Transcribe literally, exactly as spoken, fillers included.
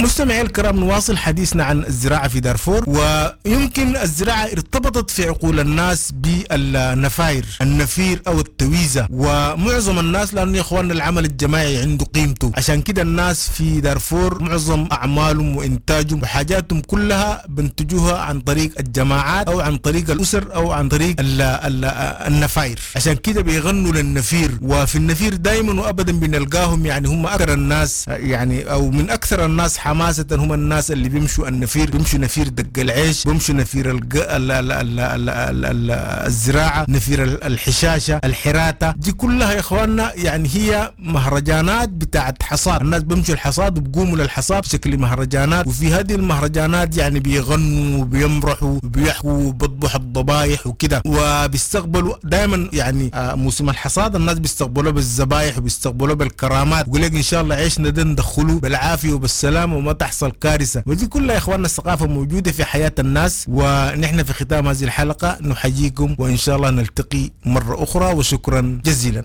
مستمعي الكرام، نواصل حديثنا عن الزراعة في دارفور. ويمكن الزراعة ارتبطت في عقول الناس بالنفاير، النفير أو التويزة، ومعظم الناس لأنه يا إخواننا العمل الجماعي عنده قيمته، عشان كده الناس في دارفور معظم أعمالهم وإنتاجهم وحاجاتهم كلها بنتجوها عن طريق الجماعات أو عن طريق الأسر أو عن طريق ال ال النفاير، عشان كده بيغنوا للنفير. وفي النفير دايما وأبدا بنلقاهم يعني هم أكثر الناس يعني أو من أكثر الناس حماسة هم الناس اللي بيمشوا النفير، بيمشوا نفير دق العيش، بيمشوا نفير الج... ال... ال... ال... ال... ال... ال... الزراعة، نفير الحشاشة، الحراتة، دي كلها يا إخواننا يعني هي مهرجانات بتاعت حصاد. الناس بيمشوا الحصاد وبقوموا للحصاد بشكل مهرجانات، وفي هذه المهرجانات يعني بيغنوا وبيمرحوا وبيحكوا وبيذبحوا الضبايح وكده، وبيستقبلوا دائما يعني موسم الحصاد الناس بيستقبلوه بالذبايح وبيستقبلوه بالكرامات، ويقول لك إن شاء الله عيشنا ده ندخله بالعافية وبالسلامة وما تحصل كارثة. ودي كلها يا إخواننا الثقافة موجودة في حياة الناس. ونحن في ختام هذه الحلقة نحييكم وإن شاء الله نلتقي مرة أخرى، وشكرا جزيلا.